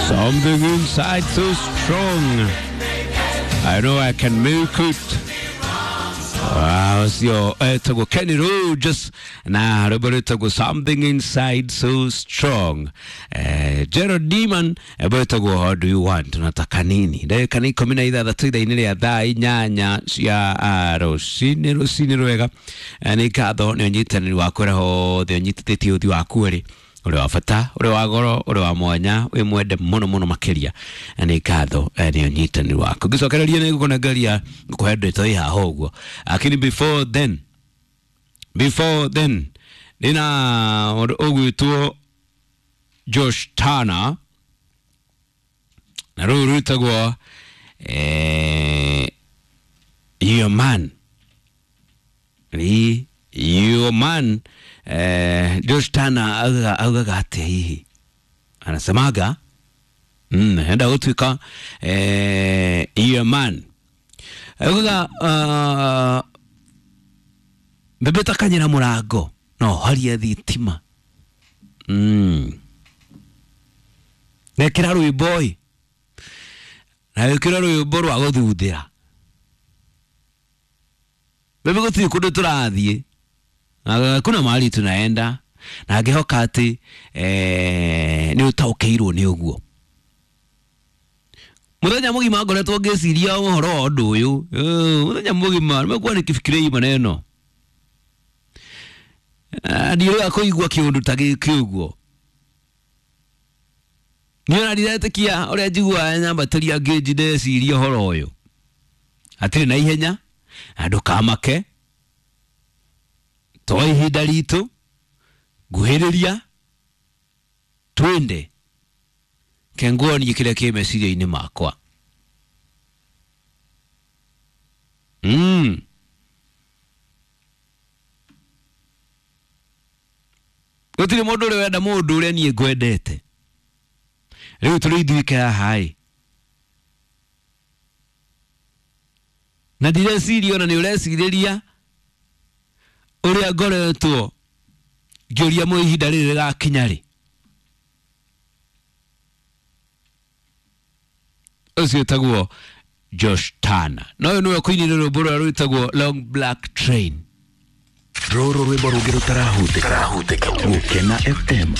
Something inside so strong. I know I can make it. Ũcio etagwo Kenny Rogers na rwĩmbo rwĩtagwo Something Inside So Strong. Gerald Deman rwĩmbo rwĩtagwo How Do You Want, unataka nini? Ndagĩka nĩ 16 ithaa-inĩ rĩa thaa 8 cia rũcinĩ rũcinĩ rwega. Nĩ ngatho nĩ ũnyitanĩri waku ũrĩa hothe ũnyitithĩtie ũthiũ waku ũrĩ ũrĩ wa bata ũrĩ wa goro ũrĩ wa mwanya wĩ mwende mũno mũno makĩria. Nĩ ngatho nĩ ũnyitanĩri waku. Ngĩcokereria nĩ ngũkũnengeria ngũkũhe ndeto ĩ haha ũguo, lakini before then ndĩna mũndũ ũgwĩtwo Josh Turner na rũu rwĩtagwo Your Man. Ni Your Man. Josh Turner augaga atĩa hihi? Anasemaga enda gũtuĩka your man. Augaga mbembe takanyĩra mũrango no horie thitima. Nekĩra rwĩmbo ĩ na wĩkĩre rwĩmbo rwa gũthuthĩra mbembe gũtirĩ kũndũ tũrathiĩ na kuna mahali tunaenda na ngĩhoka atĩ nĩ ũtaũkĩirwo nĩ ũguo. Mũthenya mũgima ngoretwo ngĩciria ũhoro wa ũndũ ũyũ. Mũthenya mũgima nimekuwa nikifikiria hii maneno. Ndiũrĩga kũigua kĩũndũ ta gĩkĩ ũguo. Niĩ ona ndiretĩkia ũrĩa njiguaga nyambatĩria ngĩnji ndeciria ũhoro ũyũ. Hatirĩ na ihenya na ndũkamake to ihinda ritũ nguhĩrĩria twende kenguonie kĩrĩa kĩ meciria-inĩ makwa. Gũtirĩ mũndũ ũrĩ wenda mũndũ ũrĩa niĩ ngwendete. Rĩu tũrĩ ithuĩ haha ĩ na ndireciria ona nĩ ũrecirĩria ũrĩa ngoretwo ngĩũria mũ ihinda rĩrĩ rĩgakinya rĩ. Ũcio wĩtagwo Josh Turner na ũyũ nĩwe ũkũinĩra rwĩmbo rũrĩa rwĩtagwo Long Black Train. Rũrũ rwĩmbo rũngĩ rũtarahutĩka Gũkena FM.